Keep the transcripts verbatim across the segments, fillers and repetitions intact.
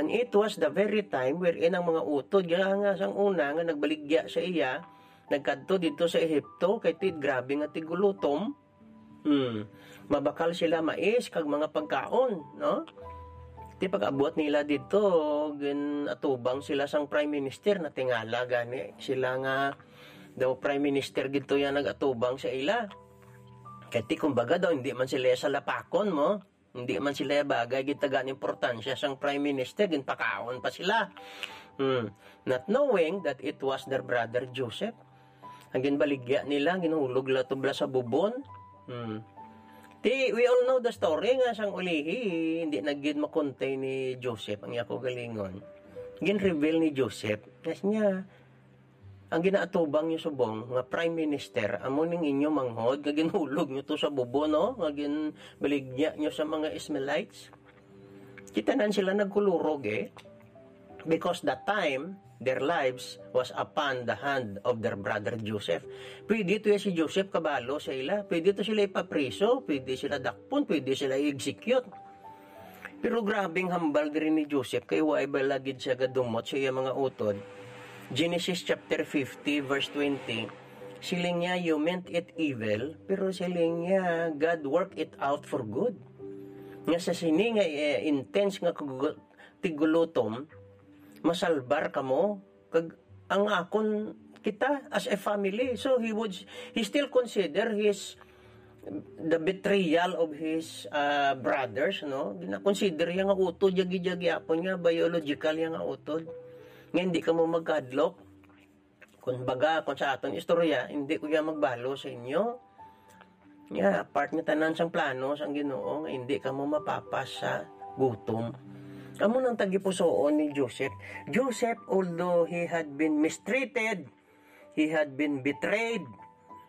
It was the very time wherein ang mga utod, nga, nga sang una nga nagbaligya sa iya, nagkadto didto sa Ehipto, kay ti grabe nga tigulutom. Hmm. Mabakal sila mais kag mga pagkaon, no? Ti pag-abot nila didto, gin-atubang sila sang prime minister, natingala gani sila nga daw prime minister gidto yang nag-atubang sa ila. Kay ti kumbaga daw, hindi man sila salapakon mo. Hindi man sila bagay, gitagaan importansya sang prime minister, ginpakaon pa sila. Hmm. Not knowing that it was their brother Joseph. Ang ginbaligya nila, ginhulog la tubla sa bubon. Hmm. Ti, we all know the story nga sang ulihi, hindi na gid makontay ni Joseph ang iya kaugalingon. Gin-reveal ni Joseph, nga siya, ang ginaatubang niyo subong nga prime minister, amo ning inyo manghod nga ginhulog niyo to sa bubon, no? Nga ginbaligya niyo sa mga Ismaelites. Kita nan sila nagkulurog, eh. Because that time, their lives was upon the hand of their brother Joseph. Pwede to ya si Joseph kabalo sa ila. Pwede to sila ipapriso, pwede sila dakpon, pwede sila i-execute. Pero grabing hambal diri ni Joseph, kay wa bala gid siya gadumot sa iya mga utod. Genesis chapter fifty, verse twenty, siling niya, "You meant it evil, pero," siling niya, "God work it out for good." Nga sa sini nga, eh, intense nga kag-, tigulutom, masalbar kamo, kag ang akon, kita as a family. So he would, he still consider his, the betrayal of his, uh, brothers, no? Gina-consider niya nga utod, yagi-yagi apon nga biological niya nga utod. Nga hindi kamo magkadlok. Kung baga, kung sa aton istorya, hindi ko ya magbalo sa inyo. Nga, part nga tanan sang plano sang Ginoo nga hindi kamo mapapas sa gutom. Amo nang tagipusoon ni Joseph. Joseph, although he had been mistreated, he had been betrayed,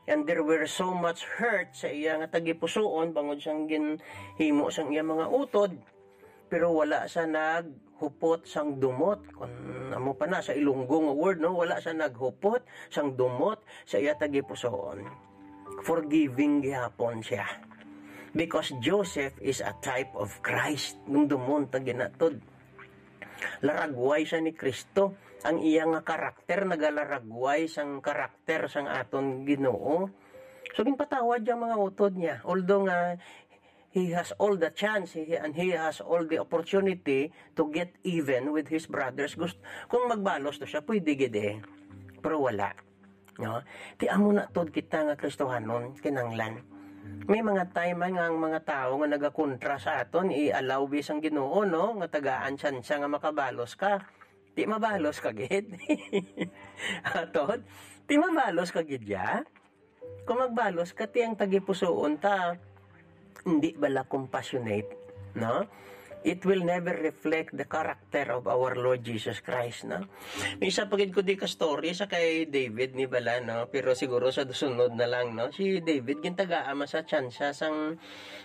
and there were so much hurt sa iya nga tagipusoon bangod sang ginhimo sang iya mga utod, pero wala siya naghupot sang dumot. Kung amo pa na sa Ilonggo nga word, no, wala siya naghupot sang dumot sa iya tagipusoon. Forgiving gihapon siya. Because Joseph is a type of Christ. Nung dumon ta ginatod, laragway siya ni Kristo. Ang iya nga karakter nagalaragway sang karakter sang aton Ginoo. So, ginpatawad ang mga utod niya. Although nga, he has all the chance, he, and he has all the opportunity to get even with his brothers. Gust-, kung magbalos to siya, pwede gid eh. Pero wala. No? Ti amo na tod kita nga Kristohanon, kinanglan. May mga time man nga ang mga tawo nga nagakontra sa aton, i-allow bi sang Ginoo, no? Nga tagaan tsansa nga makabalos ka. Ti mabalos ka gid. Atod? Ti mabalos ka gid ya? Kung magbalos ka, ti ang tagipusoon ta, hindi bala compassionate, no? It will never reflect the character of our Lord Jesus Christ, no? May isa pa gid ko di ka story sa kay David ni bala, no? Pero siguro sa sunod na lang, no? Si David, gintagaan man sa tsansa sang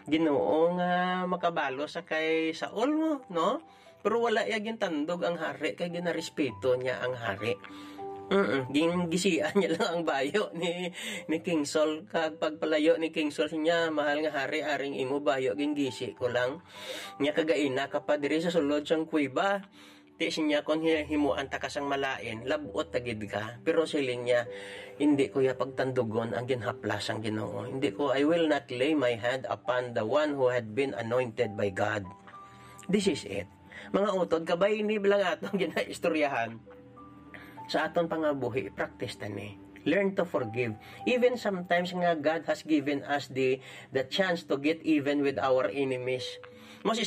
Ginoo nga makabalo sa kay Saul mo, no? Pero wala iya gintandog ang hari, kay ginarespeto niya ang hari. Mm, gin-, gisian niya lang ang bayo ni, ni King Saul. Kag pagpalayo ni King Saul, siya, "Mahal nga hari, aring imo bayo, gingisi ko lang. Nya kagaina ka pa diri sa sulod sang kuweba. Ti siya, kon hi-, himuan ta ka sang malain, lab-ot ta gid ka." Pero siling niya, "Hindi ko ya pagtandugon ang ginhaplas sang Ginoo. Hindi ko, I will not lay my hand upon the one who had been anointed by God." This is it. Mga utod, kabay ni bilang atong ginaistoryahan. Sa aton pangabuhi, practice ta ni. Learn to forgive. Even sometimes nga God has given us the, the chance to get even with our enemies. Most